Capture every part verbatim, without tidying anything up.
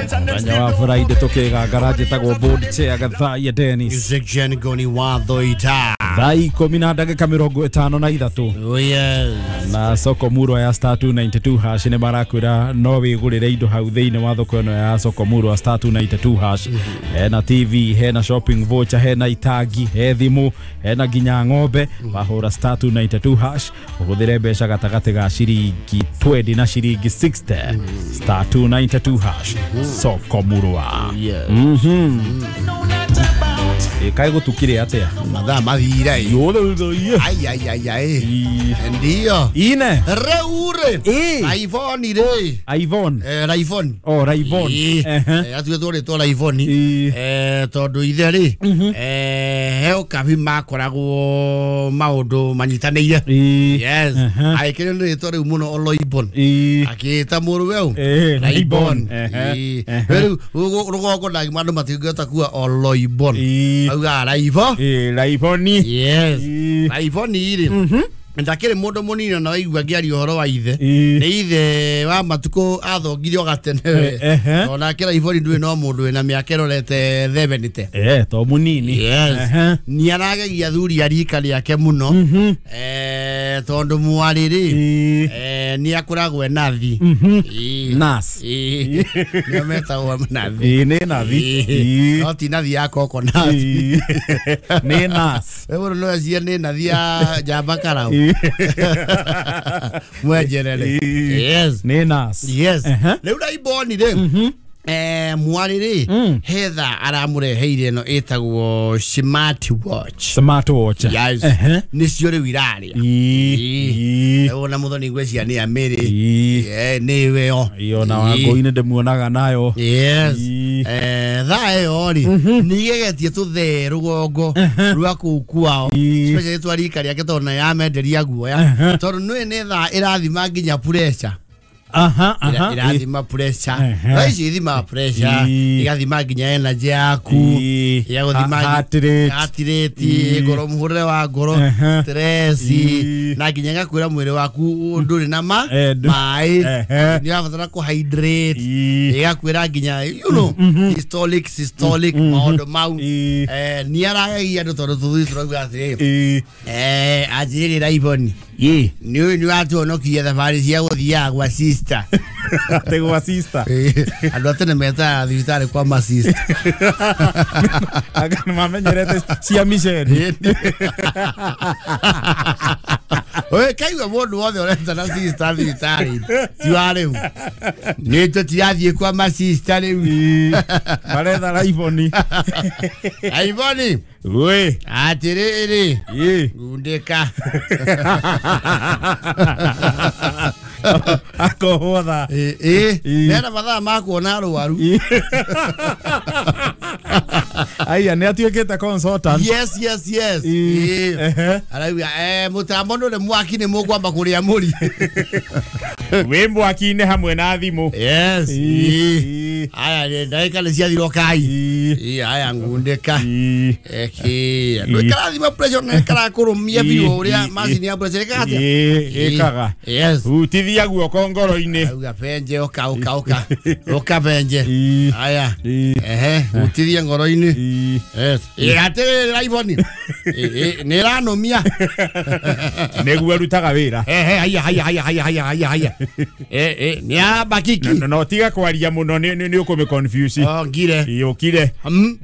Mũthenya wa Friday tũkĩgangara njĩtagwo board chair Gathaiya Dennis. Section goni wathoita. Thaa ikũmi na ndagĩka mĩrongo ĩtano na ithatũ. Oh yes. Na soko murwa ya star two ninety-two hash nĩ marakwĩra no wĩgũrĩre indo hau thĩinĩ wa thoko ĩno ya soko murwa star two ninety-two hash. Hena T V, hena shopping voucher, hena itangi, he thimũ, hena nginya ng'ombe. Wahũra star two ninety-two hash ũhũthĩre mbeca gatagatĩ ga ciringi twenty na ciringi sixty. Star two ninety-two hash soko murwa. Yes. Mhm. Ĩkaĩ gũtukire atĩa? Mathaa mathire. Yothe. Ai ai ai ai. Ndio. Ine. Reure. iPhone re. iPhone. Eh iPhone. Oh iPhone. Eh atuĩtwo rĩtwa iPhone. Eh tondu ithe rĩ eh heo kabi makoragwo maũndũ manyitanĩire. Yes. Aikĩrĩ nĩ rĩtwa rĩu mũno Oloibon. Akĩta mũrũ weu. Raibon. Rĩu rũgongo na andũ matingĩhota kuga Oloibon. Auga Raibo. Eh Raiboni. Yes. Raiboni rĩ. Ndakĩrĩ mũndũ mũnini na waigua ngĩaria ũhoro wa ithe. Nĩ ithe wa matukũ athongire o gatene. Onake Raiboni ndũĩ no mũndũ wĩna mĩaka ĩrorete seventy. Eh to mũnini. Yes. Nĩ aragegia athuri a rika rĩake mũno. Eh tondũ mwarĩ rĩ eh nĩ akoragwo e nathi. Nas. Nĩo metagwo nathi. Nĩ nathi. No ti nathi ya coconut. Nĩ nas. Wewe no acia nĩ nathi ya njamba karau. Mwenjerere. Yes. Nĩ nas. Yes. Rĩu Raiboni rĩ eh mwarĩ rĩ hetha aramũreheire ĩno ĩtagwo smart watch. Smart watch. Yes. Nĩcio rĩu iraria. Ona mũthoni ngwĩciria nĩ amĩrĩ. Eh nĩwe yo. Iyo na Wangũi ndĩmuonaga nayo. Yes. Eh thaa ĩyo rĩ nĩ igegetie tũthee rũgongo rwa kũu kwao. Especially twa rika rĩake tondũ na yamenderia guoya. Tondũ nĩ nĩ thaa ĩrathima nginya pressure. Aha aha. Irathima pressure. Thaa ici ithimaga pressure, igathima nginya energy yaku, igathima heart rate, heart rate, ngoro mũhũrĩre wa ngoro, stress, na nginya igakwĩra mwĩrĩ waku ndũrĩ na ma maĩ, nĩ ũrabatara kũ hydrate, igakwĩra nginya you know systolic systolic maũndũ mau. Eh nĩ aragegia andũ tondũ tũthuthi tũrauga atĩrĩrĩ. Eh anjĩrĩre Raiboni. Ĩ nĩ nĩ watuonokirie thabarĩ cia gũthiaga gwa sister. Atĩ gwa sister. Andũ a tene metaga thibitarĩ kwa ma sister. Anga nĩ mamenyerete cia miceni. Oe kaigua mũndũ wothe ũretana sister thibitarĩ ti wa rĩu. Nĩ tũtirathiĩ kwa ma sister rĩu. Maretha Raiboni. Raiboni. Wĩ. Atĩrĩrĩ. Ĩ. Gundĩka. Akohotha. Ĩ nena mathaa ma kuona arwaru. Aya nĩ atuĩkĩte consultant. Yes yes yes. Arauga eh mũtambo ndũrĩ mwaki nĩ mũkwamba kũrĩa mũri. Wĩ mwaki-inĩ hamwe na thimũ. Yes. Aya ndagĩka nĩ ciathira kai. Aya ngundĩka. Eki ndũkarathima pressure na ĩkarakũrũmia biũ ũrĩa macini ya pressure ĩkaga atĩa? Ĩkaga. Yes. Hutithia guoko ngoro-inĩ. Auga benje ũka ũka ũka. Ũka benje. Aya. Ehe hutithia ngoro-inĩ. Yes. Atĩrĩrĩ Raiboni. Nĩ ĩranũmia. Nĩguo arutaga wĩra. Ehe haya haya haya haya haya haya haya. Eh eh nĩ aramba kiki. No tiga kwaria mũno nĩ ũkũmĩ confuse. Oh ngire. Ũkire. Mhm.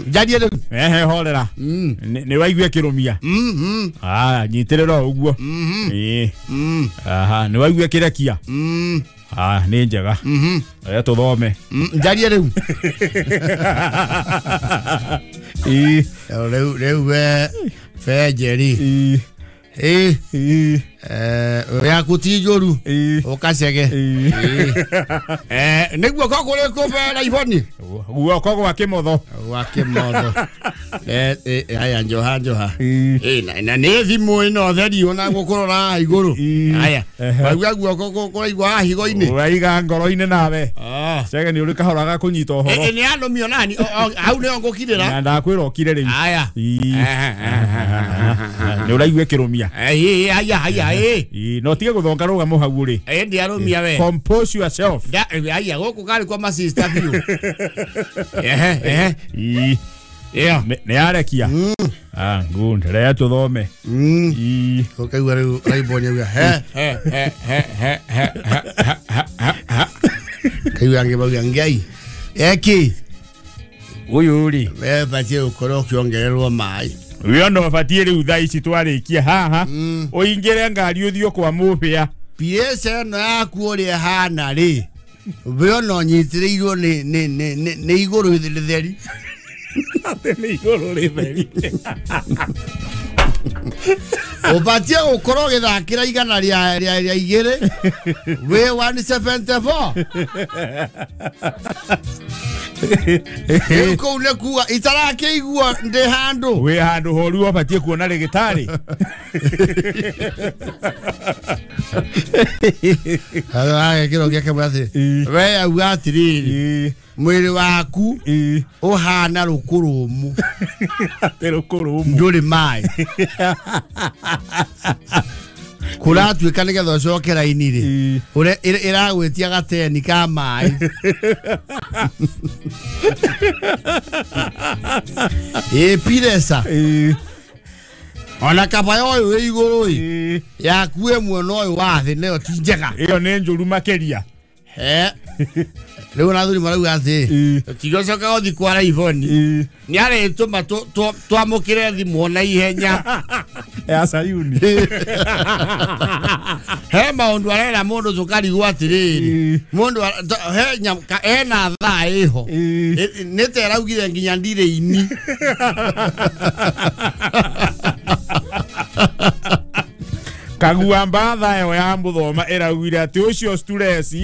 Njarie rĩu. Ehe horera. Nĩ waigua kĩrũmia. Mhm. Ah nyitĩrĩra o ũguo. Ĩ. Aha nĩ waigua kĩrekia. Ah nĩ njega. Mhm. Reke tũthome. Njarie rĩu. Ĩ. Rĩu rĩu we Benjeri. Ĩ. Ĩ. Eh yaku ti njũru. Ũkacege. Eh nĩ guoko kũrĩkũ be Raiboni? Guoko gwa kĩmotho. Gwa kĩmotho. Eh eh aya njoha njoha. Eh na nĩ thimũ ĩno theri ona gũkũrora haha igũrũ. Aya. Waigua guoko kũraigua haha higo-inĩ. Waiga ngoro-inĩ nawe. Chege nĩ ũrĩ kahora ga kũnyita ũhoro. Ĩ nĩ andũmio nani hau nĩho ngũkirĩra. Na ndakwĩra ũkire rĩu. Aya. Nĩ ũraigua ĩkĩrũmia. Ĩ haya haya ĩ. No tige gũthonga rũgamo hau ũrĩ. Ĩ ndiarũmia we. Compose yourself. Haya gũkũ karĩ kwa masista biũ. Ehe ehe. Ĩ. Yeah. Nĩ yarekia. Ah, good. Reke tũthome. Mm. Ũkaigua rĩu Raiboni auga he he he he he he he. Kaigua angĩ mauga ngai. Eki. Ũyũ rĩ. We batie ũkorwo ũkĩongererwo maĩ. Ũyũ no batie rĩu thaa ici twarĩkia haha. Ũingĩre ngari ũthiĩ kwa mũbĩa. P S ĩno yaku ũrĩa ĩhana rĩ. We ona ũnyitĩrĩirwo nĩ nĩ nĩ nĩ igũrũ rĩtheri. Atĩ nĩ igũrũ rĩtheri. Ũbatie gũkorwo ũgĩthakĩra igana rĩa rĩa rĩa igĩrĩ wĩ one seventy four. Rĩu kũu nĩ kuga itarakĩigua ndĩ handũ. Wĩ handũ horu ũbatie kuona rĩgĩtarĩ. Agekĩra ũngĩ akĩmwĩra atĩrĩ, we auga atĩrĩrĩ, mwĩrĩ waku ũhana rũkũ rũmũ. Atĩ rũkũ rũmũ. Ndũrĩ maĩ. Kũratuĩka nĩgetha ũcoke raini rĩ, ĩragwĩtia gateni ka maĩ. Ĩ piresa. Ona kaba ũyũ wĩ igũrũ ĩ, yaku ĩmwe na ũyũ wa thĩ nayo ti njega. Ĩyo nĩ njũru makĩria. He. Rĩu ona athuri marauga atĩ tigocoka gũthiĩ kwa Raiboni nĩ arĩtũma twamũkĩre thimũ na ihenya. Ya Sayuni. He maũndũ arera mũndũ tũkarigwo atĩrĩrĩ, mũndũ he hena thaa ĩho nĩ ta ĩraugire nginya ndirĩ ini. Kagua mbatha ĩyo ya mũthoma ĩraugire atĩ ũcio stress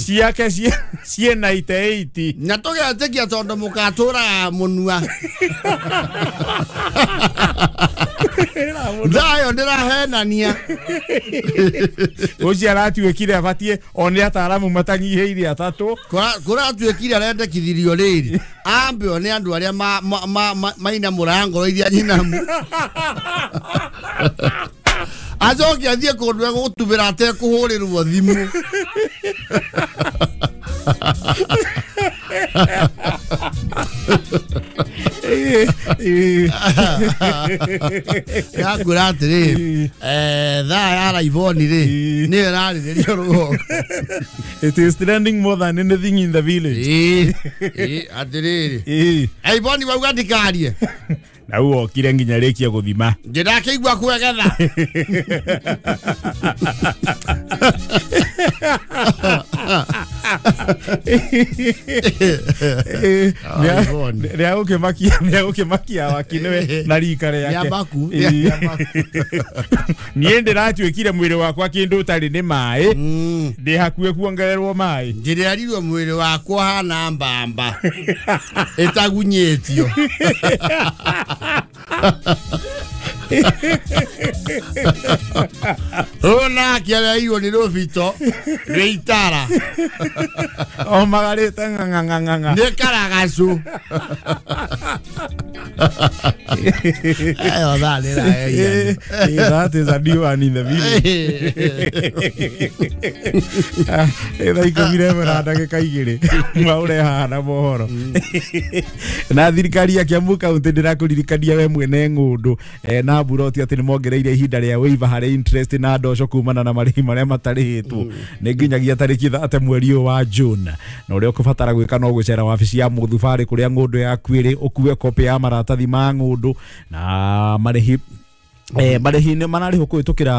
ciake ciĩ ninety eight. Na tũgetĩkia tondũ mũgatũraga mũnua. Thaa ĩyo ndĩrahenania. Ũcio aratuĩkire abatiĩ one ataaramu matanyihĩire atatũ. Kũratuĩkire arendekithirio rĩrĩ ambe one andũ arĩa mainamũraga ngoro iria nyinamu. Acoke athiĩ kũndũ egũtubĩra atekũhũrĩrwo thimũ. Yakwĩra atĩrĩrĩ, thaa ya Raiboni rĩ nĩyo ĩrarĩrĩrio rũgongo. It is trending more than anything in the village. Ĩ atĩrĩrĩ, Raiboni wauga ndikarie. Na u okire nginya rĩkia gũthima. Ndĩrakĩigua kwegetha. Nĩagũkĩmakia nĩagũkĩmakia waki nĩwe na rika rĩake. Niĩ ndĩratuĩkire mwĩrĩ wakwa kĩndũ ũtarĩ nĩ maĩ. Ndĩ hakuhĩ kuongererwo maĩ. Ndĩrerirwo mwĩrĩ wakwa hana mbamba ĩtagunyĩtio. Ona kĩareirwo nĩ rũbito rwĩ itara. O magarĩte ng'ang'ang'ang'a. Nĩ karagacu. Ĩyo thaa nĩ ĩraheria. That is a new one in the village. Thaa ikũmi na ĩmwe na ndagĩka igĩrĩ maũre haha na mohoro. Na thirikari ya Kiambu County ndĩrakũririkania we mwene ng'ũndũ na mburoti atĩ nĩ mongereire ihinda rĩa waiver harĩ interest na ndoco kumana na marĩhi marĩa matarĩhĩtwo nĩ nginyagia tarĩki thate mweri ũyũ wa June. Na ũrĩa ũkũbatara gwĩka no gũcera wabici ya mũthubarĩ kũrĩa ng'ũndũ yaku ĩrĩ ũkue kopĩ ya maratathi ma ng'ũndũ na marĩhi Eh, marĩhi nĩ mararĩhwo kũhĩtũkĩra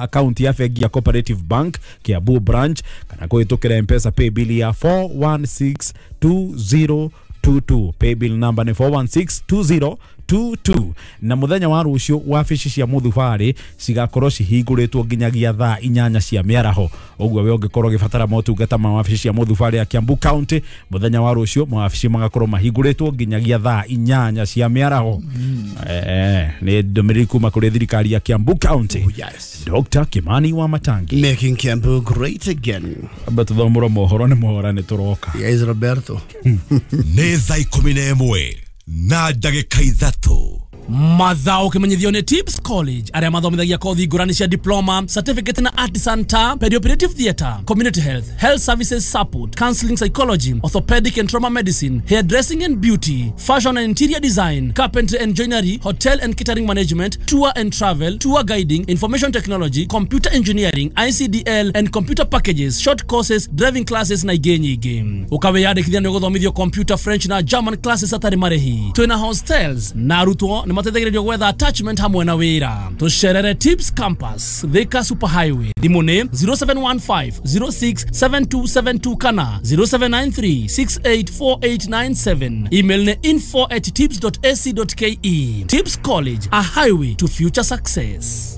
akaunti ya bengi ya Cooperative Bank Kiambu branch kana kũhĩtũkĩra M-Pesa paybill ya four one six two zero two two. Paybill number ni four one six two zero two two. Na muthenya wa rucio wabici cia Muthubari cigakorwo cihingũrĩtwo nginyagia thaa inyanya cia mĩaraho. Ũguo we ũngĩkorwo ũgĩbatara motungata ma wabici cia Muthubari ya Kiambu County, muthenya wa rucio mawabici magakorwo mahingũrĩtwo nginyagia thaa inyanya cia mĩaraho. Mm. Eh, nĩ ndũmĩrĩri kuma kũrĩ thirikari ya Kiambu County. Oh, yes. Doctor Kimani wa Matangi. Making Kiambu great again. Amba tuthomũro mohoro nĩ mohora nĩ tũroka. Yes, Roberto. Nĩ thaa ikũmi na ĩmwe na ndagĩka ithatũ. Mathao kimenyithio ni Tips College aria mathomithagia kothi ngurani cia diploma, certificate na artisan ta perioperative theatre, community health, health services support, counseling psychology, orthopedic and trauma medicine, hairdressing and beauty, fashion and interior design, carpentry and joinery, hotel and catering management, tour and travel, tour guiding, information technology, computer engineering, I C D L and computer packages, short courses, driving classes na ingĩ nyingĩ. Ukawiyandĩkithia nĩ ũgũthomithio computer, French na German classes atarĩ marĩhi. Twĩna hostels na arutwo nĩ mateithagĩrĩrio gwetha attachment hamwe na wĩra. Tũcerere Tips Campus, Thika Super Highway. Thimũ nĩ zero seven one five zero six seven two seven two kana zero seven nine three six eight four eight nine seven. Email nĩ info at tips dot a c dot k e. Tips College, a highway to future success.